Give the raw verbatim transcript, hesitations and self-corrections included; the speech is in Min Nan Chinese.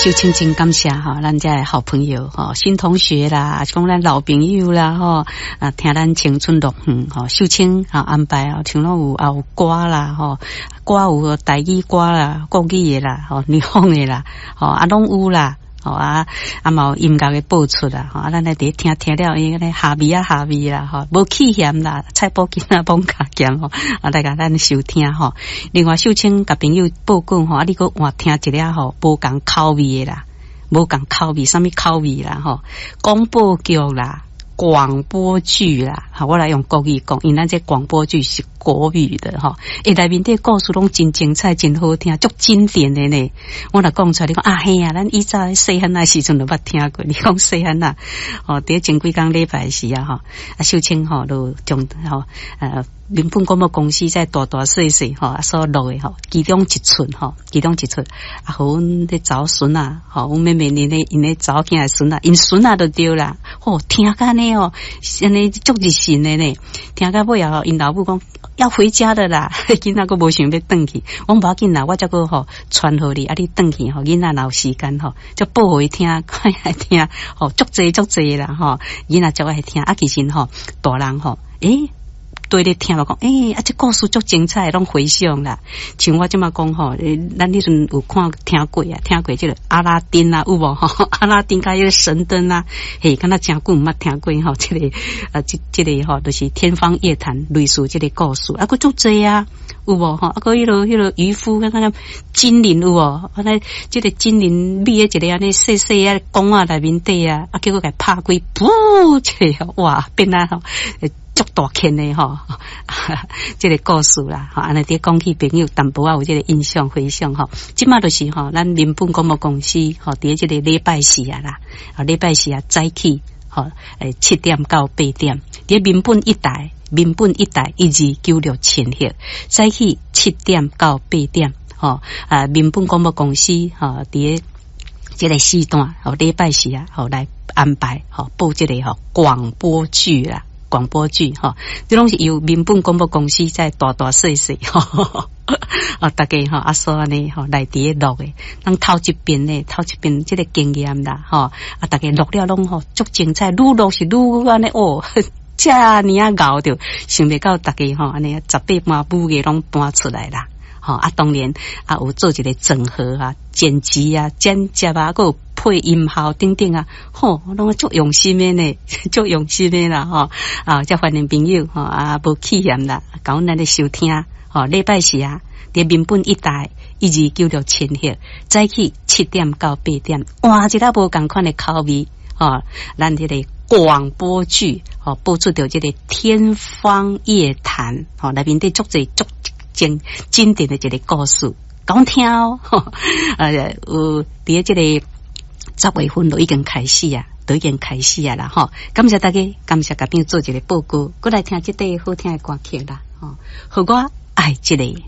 秀清真感謝吼，咱遮的好朋友吼，新同學啦，是講咱老朋友啦吼，啊，聽咱青春樂園吼，秀清啊安排啊，像攏有啊有歌啦吼，歌有台語歌啦、國語的啦、吼，南方的啦，吼啊攏有啦。吼啊啊嘛有音樂的播出啦，吼啊咱來佇聽聽了，伊咧下味啊下味啦，吼無棄嫌啦，菜脯囝仔罔加鹹吼，啊來共咱收聽吼。另外秀清共朋友報告吼，啊你閣換聽一下吼，無仝口味的啦，無仝口味，啥物口味啦吼，廣播劇啦。廣播劇啦，好，我來用國語講，因為咱這廣播劇是國語的吼，欸，內面的故事攏真精彩，真好聽，足經典的呢。我若講出來，你講啊嘿啊，咱以前細漢仔時陣就捌聽過。你講細漢仔，哦，佇前幾工禮拜時啊，吼，啊秀清吼，就將吼，呃，民本廣播公司在大大細細吼所錄的吼，其中一出吼，其中一出啊，予阮咧查某孫仔，吼，阮妹妹𪜶咧𪜶咧查某囝的孫仔，𪜶孫仔就對啦，吼，聽甲呢哦，按呢足入神的呢，聽到尾後，𪜶老母講要回家的啦，囡仔閣無想欲轉去，我講無要緊啦，我才閣吼傳予你，啊你轉去吼，囡仔若有時間吼，就播予伊聽，看愛聽，吼，足濟足濟啦吼，囡仔足愛聽，啊其實吼，大人吼，欸。對咧聽我講，欸，啊，這故事足精彩，攏回想啦。像我這馬講吼，咱彼陣有看聽過啊，聽過這個阿拉丁啊，有無吼？阿拉丁佮彼個神燈啊，嘿，敢若誠久毋捌聽過吼？這個啊，這這個吼，就是天方夜譚類似這個故事，啊，閣足濟啊，有無吼？啊，閣彼個彼個漁夫，敢若精靈有無？啊，那這個精靈覕佇一个按呢細細仔缸仔內面底啊，啊，結果共拍開，噗，這個哇，變啊吼！足大圈的吼，這個故事啦，吼，按呢佇講起朋友淡薄仔有這個印象回想吼。這馬就是吼，咱民本廣播公司吼，佇這個禮拜四啊啦，啊禮拜四啊早起吼，欸七點到八點，佇民本一台，民本一台一二九六千赫，早起七點到八點，吼啊民本廣播公司吼，佇這個時段吼，禮拜四啊，吼來安排吼播這個吼廣播劇啦。廣播劇吼，這攏是由民本廣播公司在大大細細吼，啊，大家吼啊所按呢吼來佇咧錄的，咱頭一遍呢，頭一遍這個經驗啦，吼啊，大家錄了攏吼足精彩，愈錄是愈按呢哦，遮爾仔𠢕著，想袂到大家吼按呢十八般武藝攏搬出來啦，吼啊，當然啊有做一個整合啊、剪輯啊、剪接啊，閣有配音效等等啊，吼，攏足用心的呢，足用心的啦，吼啊，遮歡迎朋友吼啊，無棄嫌啦，共阮咱咧收聽，吼，禮拜四啊，佇民本一台一二九六千赫，早起七點到八點，換一個無仝款的口味，吼，咱這個廣播劇，吼，播出著這個天方夜譚，吼，內面底足濟足經經典的一個故事，講聽哦，呃，有佇這個。十月份就已經開始啊，都已經開始啊啦吼！感謝大家，感謝共朋友做一個報告，閣來聽這塊好聽的歌曲啦吼！予我愛一个。